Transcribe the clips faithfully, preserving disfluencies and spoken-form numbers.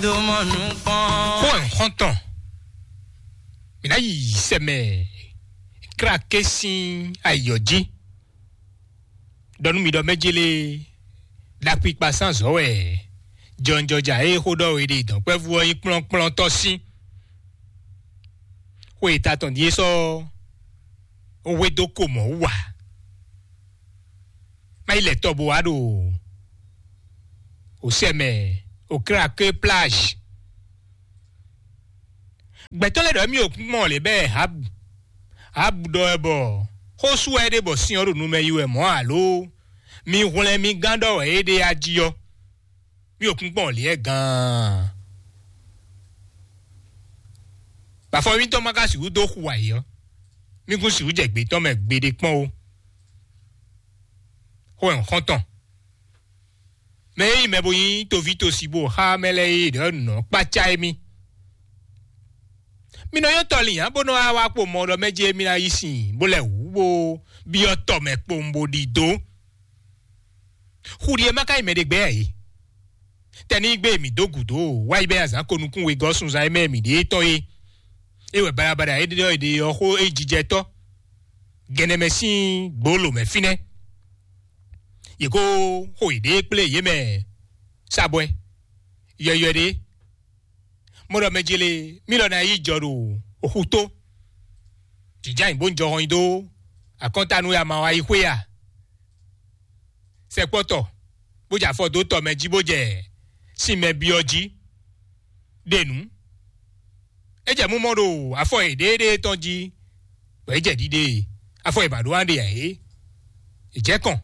Xó ɛ xɔ́ntɔn, mǐ ná yi sɛmɛ kláké sín ayǐ ɔ́ jí. Ɖɔ nú mì ɖɔ mɛjélé ɖakpikpa sín azɔ̌ wɛ jɔnjɔja e xó ɖɔ we ɖe dɔ̌nkpɛvú ɔ́ nyí kplɔ́nkplɔ́ntɔ́ sín. Xwe e ta tɔn din é sɔ́ hwedó ko mɔ̌ wú ǎ. Má yi lɛ tɔ bo wá ɖo òsɛ mɛ, òkláké plage. Gbɛtɔ́ lɛ́ɛ ɖɔ émí ɖo kúnkpɔ́n lě bɛ́ Habu. Habu ɖɔ wɛ bɔ xó sú wɛ é ɖe bɔ sin ɔ́ ɖo nu mɛ yi wɛ mɔ̌ alo mi hwlɛ́n mì gán ɖɔ wɛ é ɖe a jí ɔ́. Mì ɖo kúnkpɔ́n lě wɛ gaan. Bɔ afɔ mǐtɔn ma ka sixú dó xu ayǐ ɔ́, mì kún sixú jɛ gbětɔ́ mɛ gbeɖé kpɔ́n ó. Xó ɛ xɔ́ntɔn. Mɛ e nyí mɛ bo nyí toví tosi bó xá mɛ lɛ́ɛ e ɖɔ nǔ ɔ́ kpácá émí. Mi nɔ nyɔ́ tɔlin ǎ bó nɔ wá wá kpo mɔ ɖɔ mɛ jí émí ná yí sin bó lɛ́ wǔ bó byɔ́ tɔ mɛ kpowun bó ɖidó. Xu ɖi e má ka nyí mɛ ɖě gbɛ́ ǎ é. Tɛnígbe mǐ dó gǔdo wá yi bɛ́ azǎn ko nukún wegɔ́ sunzan e mɛ mǐ ɖe tɔn é. É wɛ baɖabaɖa e ɖɔ è ɖe ɔ́ xó é jijɛ tɔ́. Gɛnɛmɛ sín gbǒlǒ mɛ fínɛ́. Yě kó xo yěɖée kplé yě mɛ sabwɛ yɔywɛ ɖé. Mɔ ɖɔ mɛ jele mí lɔ ná yi jɔ ɖo oxu tó. Jǐjá nyi bó ń jɔ hɔn nyi dó akɔ́ntanú ya ma wá yi xwé a? Sɛkpɔ́tɔ bó jɛ afɔ dó tɔ mɛ jí bó jɛ sin mɛ byɔ́ jí ɖe nǔ. É jɛ mú mɔ ɖo afɔ yěɖée tɔn jí, bɔ é jɛ ɖiɖe afɔ yě ba ɖó wá ɖe ǎ é. È jɛ kɔn.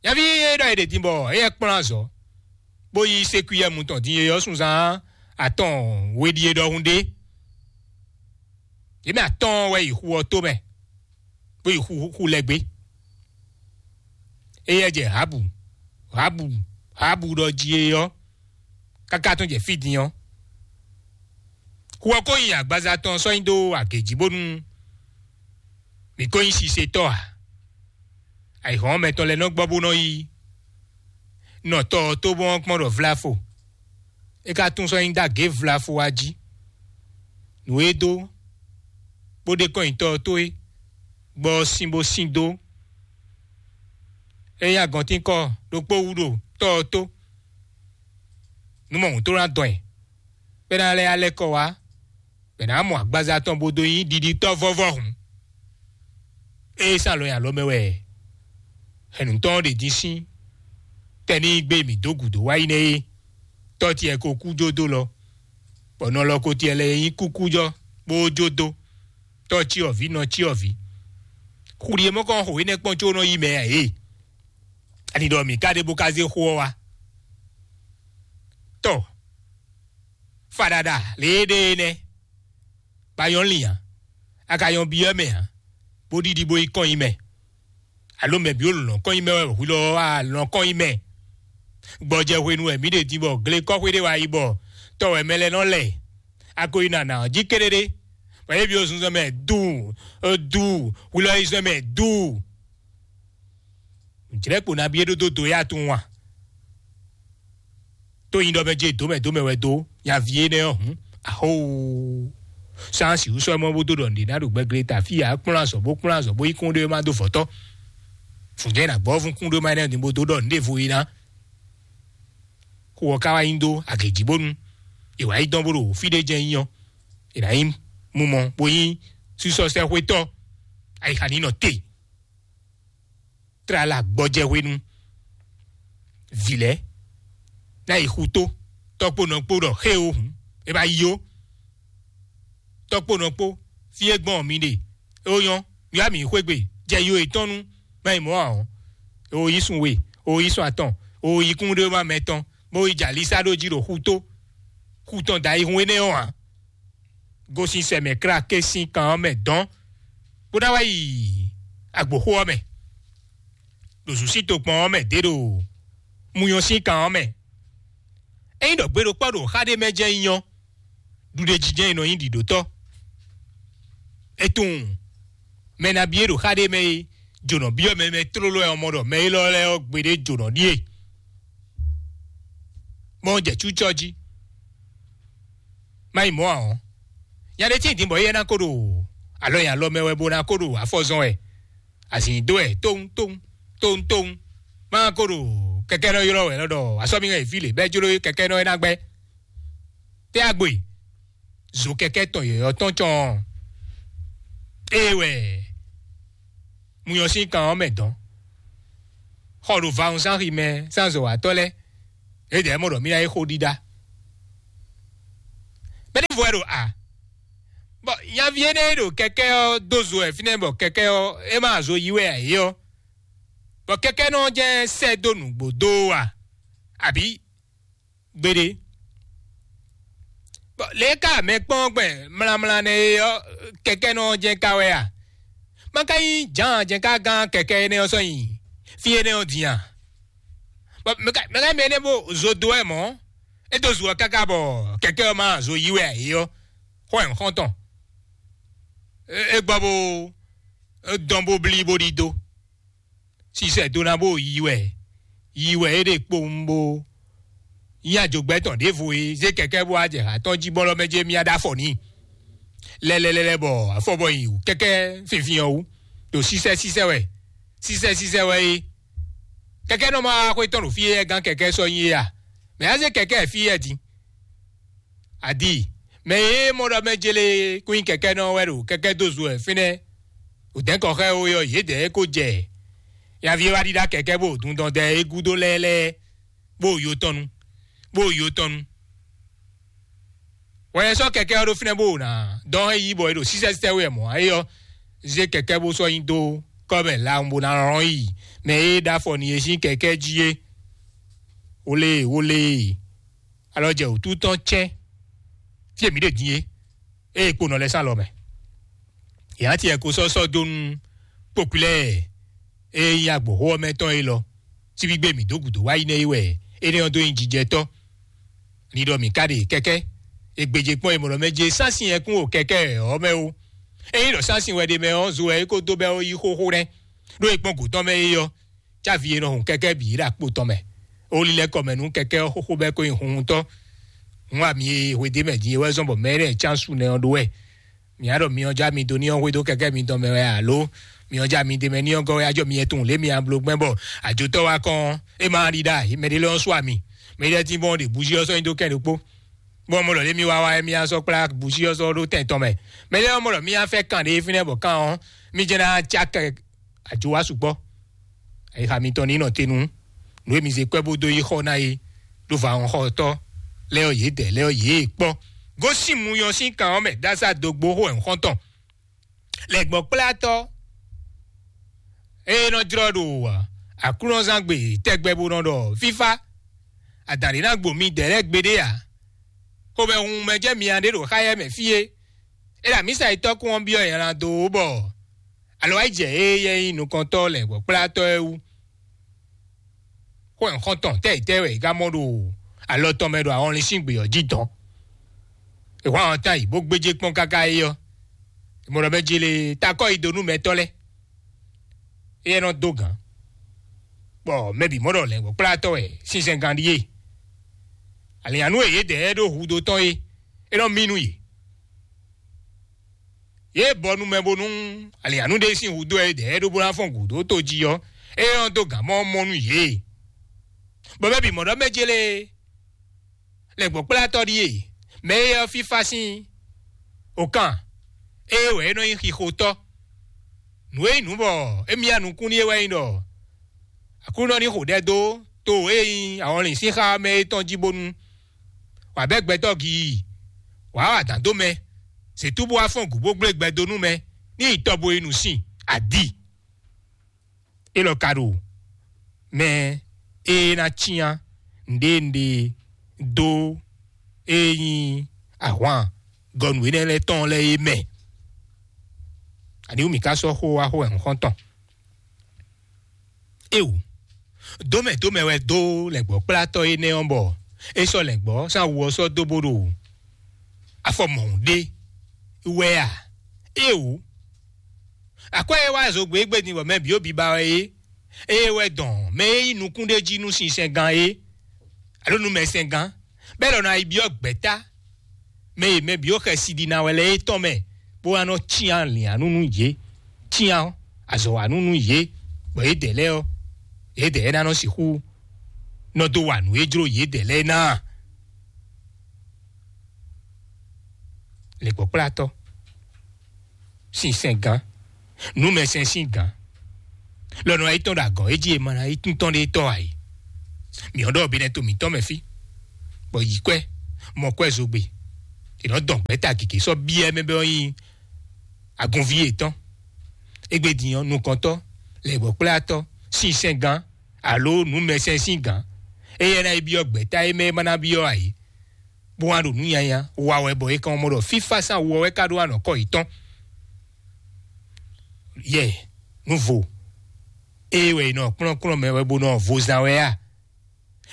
Nyaví e ɖɔ è ɖe din bɔ éyɛ́ kplɔ́n azɔ̌, bó yí sékwíyɛ́mu tɔn din e ɔ́ sunzán atɔn we ɖíe ɖɔhun ɖé. Yě mɛ atɔ́ɔ́n wɛ yi xu ɔ́ tó mɛ, bó yi xu xu lɛ́ gbé. Éyɛ́ jɛ Habu, Habu, Habu ɖɔ jí é ɔ́, káká tɔn jɛ fí din ɔ́. Xu ɔ́ ko nyi agbaza tɔn sɔ́ nyi dó agě jí bónú mǐ ko nyí sisetɔ́ ǎ. Ayǐhɔ́n mɛtɔn lɛ́ɛ nɔ gbɔ bó nɔ yi nɔ tɔ ɔ́ tó bɔn kpɔ́n ɖɔ vlafo. É ka tunwun sɔ́ nyi dó agě vlafo wá jí. Nǔ e dó bó ɖe kɔn nyi tɔ ɔ́ tó é, gbɔ ɔ́ sín bó sín dó. É nyí agɔntínkɔ ɖokpó wú ɖo tɔ ɔ́ tó. Nú mɔ hǔn tó ná dɔn ɛ, bɔ é ná lɛ́ alɛ́ kɔ wá, bɔ è nǎ mɔ agbaza tɔn bó dó nyí ɖiɖitɔ́ vɔ́vɔ́ hǔn. Ée sán alɔ nyi alɔ mɛ wɛ hɛ̌nnutɔ́ ɔ́ ɖe din sín tɛnígbe mǐ dó gǔdo wá yi nɛ́ é, tɔ́ tiɛ ko kú jó dó lɔ, bɔ nɔ lɔ ko tiɛ lɛ́ɛ nyí kúkújɔ́ bó jó dó, tɔ́ cyɔ́vǐ nɔ cyɔ́vǐ. Xu ɖi e mɔ kɔn xo énɛ́ kpɔ́n có nɔ yí mɛ ǎ é. Ani ɖɔ mǐ ka ɖe bó ka zé xó ɔ́ wá. Tɔ, faɖaɖa lě e ɖe é nɛ́. Ba nyɔ́ lin ǎ, a ka nyɔ́ byɔ́ mɛ ǎ, bó ɖiɖi bó yi kɔn nyi mɛ. Alo mɛ bǐ wo lɔ̌n kɔn nyi mɛ wɛ hwi lɔ wá lɔ̌n kɔn nyi mɛ. Gbɔjɛ hwenu wɛ mǐ ɖe din bɔ glekɔ́xwé ɖé wá yi bɔ tɔ wɛ mɛ lɛ́ɛ nɔ lɛ. A ko yi nana ɔ́ jí kéɖéɖé, bɔ yě byɔ́ zunzɔn mɛ duu, duu, hwi lɔ yi zɔn mɛ duu. Jlɛ̌ kpo nabí é ɖó dó do yá tunwun a? Tó nyi ɖɔ mɛ jɛ dǒmɛ dǒmɛ wɛ dó nyaví énɛ́ ɔ́ hǔn, ahóo. Sánsì wú sɔ́ mɔ bó dó ɖɔ nǔɖé ná ɖo gbɛglé ta fí ǎ, kplɔ́n azɔ̌ bó kplɔ́n azɔ̌ bó yi kún ɖé má dó vɔ̌tɔ́. Fǔnjɛ́n nǎ gbɔ fún kún ɖé má énɛ́ din bó dó ɖɔ nǔɖévo é ná. Xu ɔ́ ka wá nyi dó agě jí bónú è wǎ yi dɔn bó ɖo fí ɖé jɛ́n nyí ɔ́, è nǎ nyí mumɔ bó nyí sísɔ́sɛ́xwétɔ́. Ayixa ní nɔ te. Tlala gbɔjɛ hwenu. Vǐ lɛ́ɛ ná yi xutó, tɔ́kpónɔ kpó ɖɔ xé o hǔn, é ba yi ó. Tɔ́kpónɔ kpó, fí e gbɔn mi ɖe, é ó nyɔ́, mi wá mǐ xwé gbe, jɛ yo yětɔn nú má yi mɔ̌ ǎ ɔ́, é ó yí sun we, é ó yí sun atɔn, é ó yí kún ɖé má mɛ tɔn, bó yi jɛ alísá ɖó jí ɖo xutó. Xutɔn da ayihun énɛ́ ɔ́ ǎ. Gosín sɛ mɛ kláké sín kan ɔ́ mɛ dɔn, bó ná wá yi agboxó ɔ́ mɛ, ɖo zǔsín tokpɔn ɔ́ mɛ dě ɖo muyɔn sín kan ɔ́ mɛ. Ényí ɖɔ gbe ɖokpɔ́ ɖo xá ɖé mɛ jɛ́n nyí ɔ́, ɖuɖéjijɛ e nɔ nyí ɖiɖotɔ́. É tunwun mɛ nabí e ɖo xá ɖé mɛ é jǒnɔ byɔ́ mɛ mɛ tlóló wɛ ɔ́ mɔ ɖɔ mɛ élɔ́ lɛ́ɛ ɔ́ gbeɖé jǒnɔ ɖíe. mɔ jɛ cúcɔ jí. Má yi mɔ̌ ǎ ɔ́, nya ɖé tíin din bɔ éyɛ́ ná ko ɖo alɔ nyi alɔ mɛ wɛ bó ná ko ɖo afɔ zɔn wɛ. Azǐn dó wɛ tóun tóun tóun tóun. Má ko ɖo kɛkɛ́nɔ ylɔ́ wɛ lɔ ɖɔ asɔ́míhɛn vǐ lě bɛ́ jló kɛkɛ́nɔ e ná gbɛ́. Tɛ́ agbo e zo kɛkɛ́ tɔn yɔ̌yɔ́ tɔn cɔn ɔ́, ée wɛ munyɔ sín kan ɔ́ mɛ dɔn. Xɔ ɖo vawun zán xi mɛ zán zɔ̌watɔ́ lɛ́ɛ, é dɛ̌ mɔ ɖɔ mí ná yi xó ɖíɖá. Mɛɖěvo wɛ ɖo a? Bɔ nyaví énɛ́ e ɖo kɛkɛ́ ɔ́ dó zo wɛ fínɛ́ bɔ kɛkɛ́ ɔ́ é má zo yí wɛ ǎ é ɔ́, bɔ kɛkɛ́nɔ ɔ́ jɛ́n sɛ́ dó nǔgbó dó ɔ́ a? Abǐ gbeɖé? Bɔ lě e ka mɛ kpɔ́n gbɛn mlamla nɛ́ é ɔ́, kɛkɛ́nɔ ɔ́ jɛ́n ka wɛ a? Má ka nyí Jǎan jɛ́n ka gán kɛkɛ́ énɛ́ ɔ́ sɔ́ nyi fí énɛ́ ɔ́ din a? Bɔ mɛ ka mɛ ka mɛ énɛ́ bó zo dó wɛ mɔ̌, é dó zu ɔ́ káká bɔ kɛkɛ́ ɔ́ má zo yí wɛ ǎ é ɔ́, xó wɛ un xɔ́n tɔn. É gbɔ bó dɔn bó blí bó ɖidó. Sisɛ dó ná bó yi wɛ, yi wɛ é ɖe kpowun bó nyí ajogbɛ́ tɔn ɖěvo e zé kɛkɛ́ bó wá jɛ ha tɔn jí bɔlɔ mɛ jɛ mía ɖó afɔ n'i. Lɛlɛlɛlɛ bɔ afɔ bɔ yi wǔ kɛkɛ́ finfin ɔ́ wú ɖo sísɛ sísɛ wɛ, sísɛ sísɛ wɛ é. Kɛkɛ́ nɔ ma wá xwé tɔn ɖo fí e gán kɛkɛ́ sɔ́ nyi é a? Mɛ á zé kɛkɛ́ fí yɛ din. Adi, mɛ e mɔ ɖɔ mɛ jele kún nyí kɛkɛ́nɔ wɛ ɖo kɛkɛ́ dó zo wɛ fínɛ́. Wǒdɛ́nkɔ xá ɛ ó yɔ yědɛɛ ko jɛ nyaví e wá ɖíɖá kɛkɛ́ bó dundɔn dɛ é gúdo lɛ́ɛ lɛ́ɛ, bó yo tɔn nu, bó yo tɔn nu. Wɛ sɔ́ kɛkɛ́ ɔ́ ɖó fínɛ́ bó ná dɔn é yí bɔ é ɖo sísɛ́sítɛ́ wɛ mɔ̌ é ɔ́, zé kɛkɛ́ bó sɔ́ nyi dó kɔ́ mɛ lawun bó ná lɔn yi mɛ e ɖó afɔ n'i é sín kɛkɛ́ jí é. Wole, wole. Alɔ jɛ wǔtu tɔn cɛ́n fí e mǐ ɖe din é, ée kpo nɔ lɛ́ sán lɔ mɛ. Yě ná tiɛ ko sɔ́ sɔ́ dó nú kpokpilɛ e nyí agbǒxó ɔ́ mɛ tɔn élɔ́. Síbígbé mǐ dó gǔdo wá yi nɛ́ é wɛ énɛ́ ɔ́ dó nyí jijɛtɔ́. Ni ɖɔ mǐ ka ɖe kɛ́kɛ́, è gbějé kpɔ́n è mɔ ɖɔ mɛ jɛ sán sin ɛkún o kɛkɛ́ ɔ́ mɛ ó. Ényí ɖɔ sán sin wɛ ɖe mɛ ɔ́, zo wɛ é ko dó bɛ́ ó yí xóxó nɛ́, ɖó è kpɔ́n gǔ tɔn mɛ é ɔ́. Cávi e nɔ hun kɛkɛ́ bǐ ɖo akpo tɔn mɛ. Ó lílɛ́ kɔ mɛ nú kɛkɛ́ ɔ́ xóxó bɛ́ kó nyi hunhuntɔ́. Hun ami e hwedó mɛ din é wɛ zɔ́n bɔ mɛ énɛ́ e cán su nɛ ɔ́ ɖó wɛ. Mǐ á ɖɔ myɔ já mi dó ní ɔ́ hwedó kɛkɛ́ mitɔn mɛ wɛ alo? Myɔ já mi d'é mɛ ní ɔ́ gɔ́ wɛ á jɔ mi yɛtun lě mi a bló gbɛn bɔ àjotɔ́ wá kɔn é má ɖi ɖa mɛ ɖé lɔ ɔ́ sú ami. Mɛ ɖé tín bɔn ɖe bǔjí ɔ́ sɔ́ nyi dó kɛn ɖokpó. Bɔn mɔ lɔ lě mi wá wá é mi á sɔ́ kplá bǔjí ɔ́ sɔ́ ɖó tɛn tɔn mɛ. Mɛ ɖé ɔ́ mɔ lɔ mi á fɛ kan ɖé fínɛ́ bɔ kan ɔ́, mi jɛ ná cá kɛ àjò wá sukpɔ́. Ayixa mitɔn ní nɔ te nú nǔ e mi zé kwɛ́ bó dó yi xɔ ná é ɖó vǎ-wɔnxɔtɔ́ lɛ́ɛ ɔ́ yě dɛ̌ lɛ́ɛ ɔ́ yě kpɔ́. Gosín muyɔn sín kan ɔ́ mɛ dása dógbó xó wɛ xɔ́ntɔn. Lɛ̌gbɔ́kplátɔ́ e nɔ jlɔ́ ɖo aklúnɔzángbe tɛgbɛ bó nɔ ɖɔ fífá, adǎn ɖé ná gbo mi dɛ̌ lɛ́ɛ gbeɖé ǎ. Xomɛhunhun mɛ jɛ mi a ɖé ɖo xáyɛ mɛ fí é. É ɖo amǐsa yi tɔ́kún ɔ́ byɔ́ nylá dó bɔ alɔ wá yi jɛ ée yɛ nyí nukɔntɔ́ lɛ̌ngbɔ́kplátɔ́ ɛ wú. Xó nyǐxɔ́ntɔn tɛ́ yi tɛ́ wɛ è ka mɔ ɖo alɔ tɔn mɛ ɖo ahɔnlin sín gbě ɔ́ jí dɔn? È hwán ɔ́ tán yi bó gbéjé kpɔ́n káká é ɔ́, è mɔ ɖɔ mɛ jele takɔ́ yi dó nú mɛtɔ́ lɛ́ɛ. Éyɛ́ nɔ dó gǎn, bɔ mɛ bǐ mɔ ɖɔ lɛ̌ngbɔ́kplátɔ́ wɛ sinsɛngán ɖíe. Alǐnnyánú e yědɛɛ ɖó hudó tɔn é, é nɔ mí nú yě. Yě bɔ nú mɛ bónú alǐnnyánú ɖé sín hudó e dɛ̌ ɖó bó ná fɔ́n gǔdo tó jí ɔ́, é nɔ dó gǎn mɔ mɔ nú yě. Bɔ mɛ bǐ mɔ ɖɔ mɛ jélé lɛ̌ngbɔ́kplátɔ́ ɖíe, mɛ e ɔ́ fífá sín okan, ée wɛ é nɔ nyí xixotɔ́. Nǔ e nyí nǔ bɔ émí ya nukún n'i é wɛ nyí ɖɔ Aklúnɔ ní xo ɖɛ dó to e nyí ahɔnlin sín xá mɛ é tɔn jí bónú wǎ bɛ́ gbɛtɔ́ gii, wǎ wa dǎn dó mɛ, zětú bó wá fɔ́n gǔ bó gblé gbɛ dó nú mɛ ní yi tɔ bo yi nǔ sin adi. Élɔ́ ka ɖo mɛ e ná cyán nǔɖé nǔɖé dó e nyí ahwan gɔnu énɛ́ lɛ́ɛ tɔn lɛ́ɛ é mɛ. Aniwú mǐ ka sɔ́ xó wá xó wɛ xɔ́ntɔn? Éwú, dómɛ dómɛ wɛ dó lɛ̌ngbɔ́kplátɔ́ énɛ́ ɔ́ bɔ é sɔ́ lɛ̌ngbɔ́ sín awu ɔ́ sɔ́ dó bó ɖo afɔ mɔ̌hun ɖé wɛ a? Éwú, akwɛ́ e wá zogbe égbé din bɔ mɛ bǐ ó biba wɛ é, ée wɛ dɔn mɛ e nyí nukún ɖé jí nú sinsɛngán é. alo numɛsɛngán, bɛ́ lɔ ná yi byɔ́ gbɛ̌ta mɛ e mɛ bǐ xɛsi ɖi ná wɛ lɛ́ɛ é tɔn mɛ, bó wá nɔ cyán lǐannú nú yě, cyán azɔ̌wanú nú yě, bɔ yědɛɛ lɛ́ɛ ɔ́, yědɛɛ ná nɔ sixú nɔ dó wa nǔ e jló yědɛɛ lɛ́ɛ ná. Lěkpɔ́kplátɔ́, sinsɛn gǎn, numɛsɛn sín gǎn, lɔ nɔ yi tɔn ɖo agɔ̌ é jí e ma ná yi tún tɔn ɖé tɔ́ ǎ é. Mǐ ɔ́ ɖɔ binɛ to mǐtɔn mɛ fí, bɔ yi kwɛ́, mɔ kwɛ́ zogbe, è nɔ dɔn gbɛ̌ta gěgé sɔ́ byɔ́ mɛ bɔ nyí agunví yětɔn. Égbé din ɔ́, nukɔntɔ́, lɛ̌gbɔ́kplátɔ́, sinsɛn gǎn, alo nǔmɛsɛn sín gǎn, éyɛ́ ná yi byɔ́ gbɛ̌ta e mɛ e ma ná byɔ́ ǎ é, bó wá ɖo nǔ nyanya wa wɛ, bɔ è kàn mɔ ɖɔ fífá sín awu ɔ́ wɛ ka ɖó anɔ̌kɔ yětɔn. Yɛ, nǔvo, ée wɛ è nɔ kplɔ́nkplɔ́n mɛ wɛ bó nɔ vo zán wɛ a?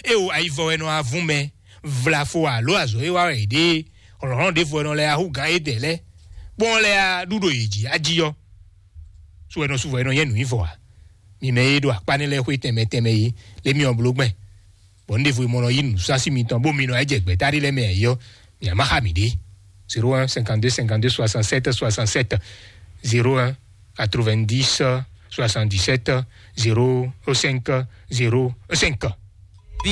É wo ayivɔ wɛ nɔ avún mɛ, vlafo alo azɔ̌ e wa wɛ è ɖe, hlɔ̌nhlɔ́n ɖěvo wɛ nɔ lɛ́ ahú gǎn édɛɛ lɛ́ɛ, bó nɔ lɛ́ ɖu ɖo yě jí ají ɔ́, sú wɛ nɔ sú vɔ è nɔ nyɛ nǔ nyí vɔ ǎ. Mi mɛ e ɖo akpá nɛ́ lɛ́ɛ xwé tɛnmɛ tɛnmɛ é, lé mi ɔ́ bló gbɛn, bɔ un ɖěvo e mɔ nɔ yí nǔsásí mitɔn, bó mi nɔ yi jɛ gbɛ̌ta ɖé lɛ́ɛ mɛ ǎ é ɔ́, mi ǎ má xa mǐ ɖě. Zéro un cinquante deux cinquante deux soixante sept soixante sept, zéro un quatre vingt dix soixante dix sept zéro cinq zéro cinq.